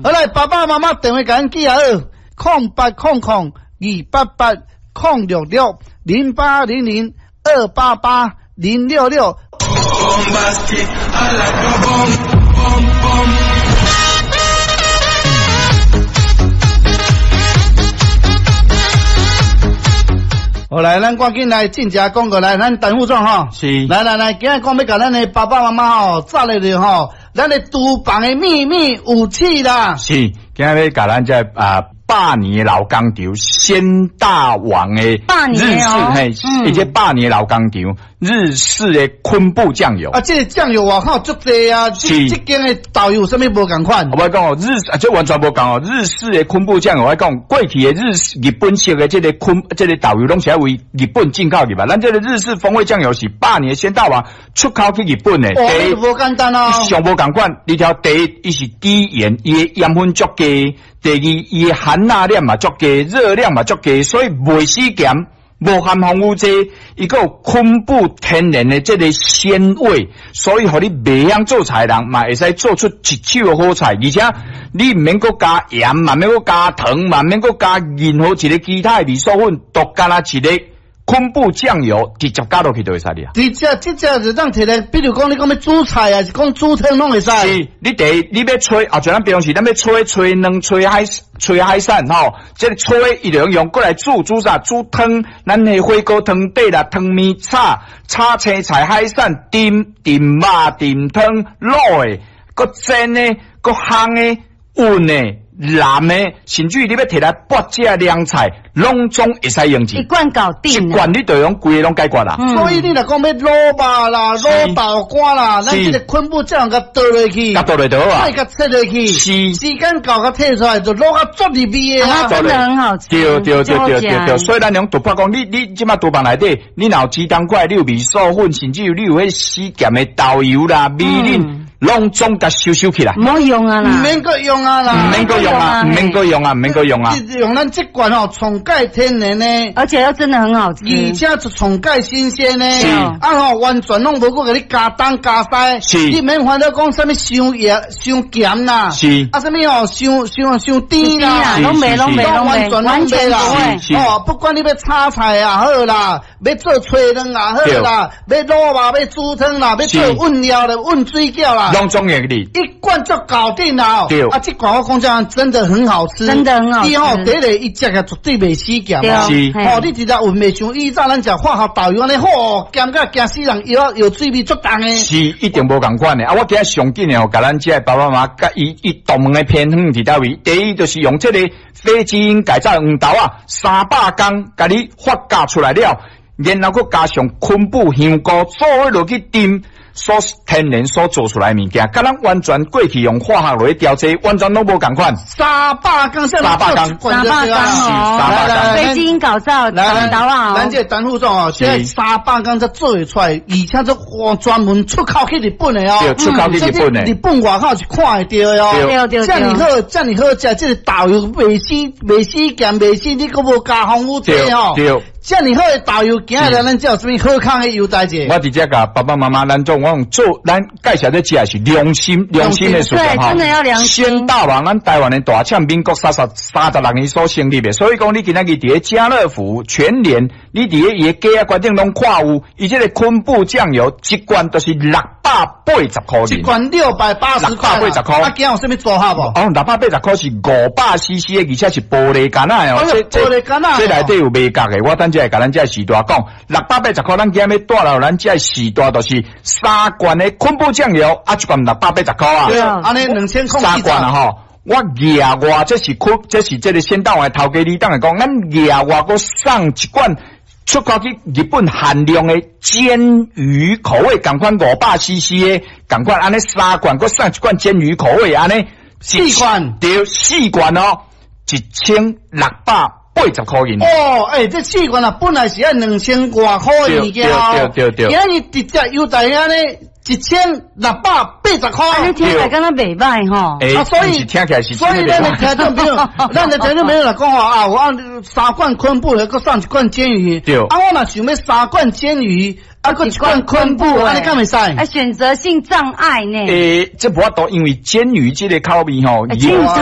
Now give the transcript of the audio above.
好來，爸爸媽媽電話共咱記下好，0800 288 066，0800 288 066。好來，咱趕緊來進食廣告來，咱陳副總吼，是，來來來，今日講欲共咱的爸爸媽媽吼，炸咧著吼，咱的廚房的秘密武器啦。是，今日欲共咱這啊百年的老工廠鮮大王的百日年哦式嘿，伊這百年的老工廠日式的昆布醬油。啊，這个醬油外口足濟啊，這是這間的豆油有啥物無仝款？我講哦，日啊，這完全無仝哦。日式的昆布醬油，我講過去的日式日本式的這个昆這个豆油，攏是愛為日本進口入來。咱這个日式風味醬油是百年鮮大王出口去日本的。哦，第一這無簡單哦。上無仝款，你聽第一，伊是低鹽，伊的鹽分足低；第二，伊的含鈉量嘛足低，熱量嘛足低，所以袂死鹹，無含防腐劑，伊閣有昆布天然的這个鮮味，所以予你袂曉做菜的人嘛會使做出一手的好菜，而且你毋免閣加鹽，嘛免閣加糖，嘛免閣加任何一个其他的味素粉，都干焦一个昆布醬油直接加落去就會使了。直接這隻就當提來，比如講你講欲煮菜啊，是講煮湯攏會使。是，你第一你欲炊啊，像咱平常時，咱欲炊炊卵、炊海炊海產吼，這个炊伊就用過來煮煮啥？煮湯，咱的火鍋湯底啦，湯麵炒炒青菜、海產、炖炖肉、炖湯、滷的，閣煎的，閣烘的、焖的、淋的，甚至於你欲提來撥這涼菜，攏總會使用一罐搞定一罐你就用規个攏解決啦。所以你若講欲滷肉啦、滷豆乾啦，咱這个昆布醬共倒落去，共倒落就好啊再共切落去，是時間到共提出來就滷甲足入味的啊。真的很好吃。對對對對對對，所以咱用突破講，你你這馬廚房內底，你若有雞蛋塊，你有味素粉，甚至於你有彼死鹹的豆油啦、味淋，攏總共收收起來。毋好用啊啦，毋免閣用啊啦，毋免閣用啊，毋免閣用啊，毋免閣用啊。用咱這罐吼，上蓋天然的，而且又真的很好吃，而且是上蓋新鮮的，是啊吼，完全攏無閣共你加東加西，是你免煩惱講啥物傷鹽、傷鹹啦，是啊啥物吼，傷傷傷甜啦，攏袂攏袂攏完全完全攏袂啦不會。是哦，不管你欲炒菜也好啦，欲做炊卵也好啦，欲滷肉、欲煮湯啦，欲做餛料啦、餛水餃啦，攏總會你一罐就搞定啦。對啊，這罐我講真，真的很好吃，真的很好吃你吼，第一个伊食起絕對袂死鹹對是哦，你直接聞袂像以前咱食化學豆油按呢，吼，鹹甲驚死人，藥藥水味足重的。是一定無仝款的。啊，我今日上緊的吼，共咱這个爸爸媽媽，佮伊伊獨門的偏方佇佗位？第一就是用這个非基因改造的黃豆仔，300工共你發酵出來了，然後閣加上昆布香菇，做伙落去炖。所天然所做出來的物件，佮咱完全過去用化學落去調製，完全攏無仝款。三百工，三百工三百工哦，三百工非基因改造來來黃豆仔咱這個陳副總哦，現在三百工才做會出來，而且這專門出口去日本的哦，對，出口去日本的，日本外口是看會著的哦。對對對，這麼好，這麼好食，這个豆油袂死，袂死鹹，袂死，你閣無加防腐劑哦。對。這麼好的豆油，今日咱這有啥物好康的優待者？我直接共爸爸媽媽，咱總我用做，咱介紹這食是良心良心的事業對，真的要良心。鮮大王，咱台灣的大廠，民國36年所成立的，所以講你今仔日佇咧家樂福、全聯，你佇咧伊的架仔櫃頂攏看有，伊這个昆布醬油一罐就是680塊。一罐680塊。680塊。啊，今有啥物組合無？哦，680塊是500 CC 的，而且是玻璃罐仔的哦。玻璃罐仔。這內底有賣角的，我等下會共咱這序大講，680塊，咱今日欲帶來咱這序大就是三罐的昆布醬油，啊，一罐680塊啊。對啊，按呢2000 三罐啊吼。我額外這是昆，這是這个鮮大王的頭家李董來講，咱額外閣送一罐出口去日本限量的鰹魚口味，仝款500 CC 的，仝款按呢三罐，閣送一罐鰹魚口味，按呢四罐，對，四罐哦，1680塊銀。哦，欸，這四罐啊，本來是愛2000外塊的物件哦，對對對，今日直接優待按呢1680塊。按呢聽起來敢若袂䆀吼。欸，啊，所以聽起來是，所以咱的聽眾朋友，咱的聽眾朋友來講吼啊，我三罐昆布，閣送一罐鰹魚。對。啊，我若想欲三罐鰹魚，啊，閣一罐昆布，按呢敢會使？啊，選擇性障礙呢？欸，這無法度，因為鰹魚這个口味吼，鰹魚。